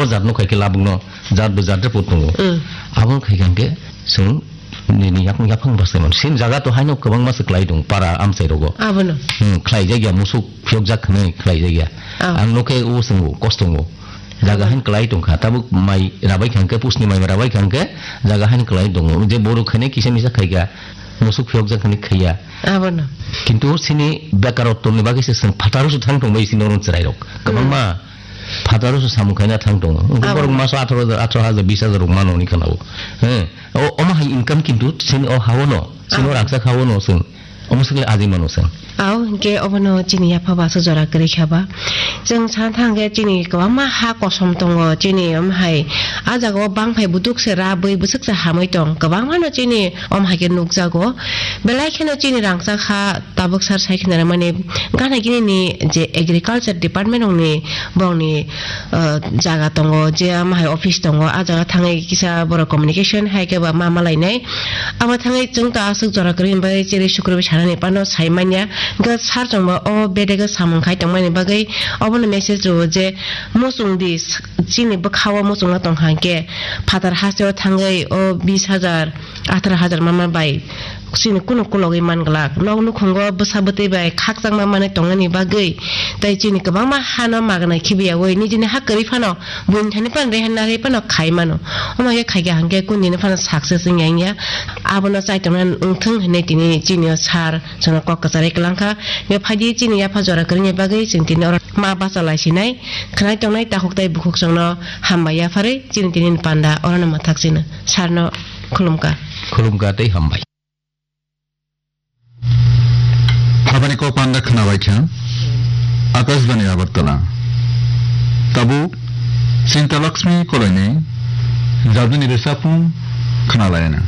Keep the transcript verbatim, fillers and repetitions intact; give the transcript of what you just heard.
jat no khai khe labuk no jat bo jat report tongo. Mm. Abo khai khe hwnkhe chwng nini yaphang yaphang bwsai mano. Sin jaga to haino kwbangma se kwlai tongo para amchai rogo. Abono. Hmm, khlai jakya musuk phiyok jak hwnwi khlai jakya. Ah. Ang no khe o chwngo kosto tongo. Jaga haino kwlai tongkha. Tabuk mai rabai kha hwnkhe, pusni mai rabai kha hwnkhe, jaga haino kwlai tongo. Je borok khainai kisa misa khaikha, musuk phiyokjak hwnwi khaiya. Abono. Kintu sini bekarotwni bagwi se chwng phataro se thang tongbai sini oro chwrairok. Kwbangma phataro se samung khaina thang tongo. Abono. Borok maso atharo hajar, atharo hajar, bis hajar rok mano hwnwi khwnao. He. O, omo hai income kintu sini o haono, sini o rangchak haono chwng. Omo swkle ajai mano chwng. Ao, hwnkhe obono chini yapha bo aswk jora kwrwi kha ba. Chwng sana thang khe chini kwbangma ha kosom tongo, chini omo hai a jaga o bangphai buduk se ra bwi bwswk se hamwi tong. Kwbangma no chini omo hai khe nukjago. Belai kheno chini rangchak ha tabuk sar sai khna mani gana gini ni je agriculture department rok ni borok ni ah, jaga tongo, je ama hai office tongo, ah jaga thangwi kisa borok communication hai khe ba ma malainai. Abo thangwi chwng ta aswk jora kwrwi bai chiri sukrubwi sanani phano sai manya. Hwnkhe sir chwngbo o bedego samung khai tongmani bagwi obono message rwo je muchung di, chini bwkhao muchungma tong kha hwnkhe phatar hasteo thangwi o bis hajar, atharo hajar mama bai chini kunu kulogwi man glak. Nok nukhungo bwsa bwtwi bai khakchangma manwi tongnani bagwi tei chini kwbangma hano magwnai khibiyaui nijini ha kwrwi phano buini thani phano reha nari phano khai mano. Omo khe khaikha hwnkhe kunini phano success wngya wngya. Abono chaitongnani wngthung hinwi tini chini o sir chwngno kok kwcharwi kwlangkha. Be phaidi chini yapha jora kwrwini bagwi chwng tini oro ma bacha lai sinai. Khwnai tongnai takhuk tei bukhuk chwngno hambai yapharwi chini tini panda orono mwthak chino. Sir no khulumkha. Khulumkha tei hambai. Habani kok panda khwnabai kha Akashbani Agartala. Tabuk Chinta Lakshmi Koloini jaduni resapung khwnalaina.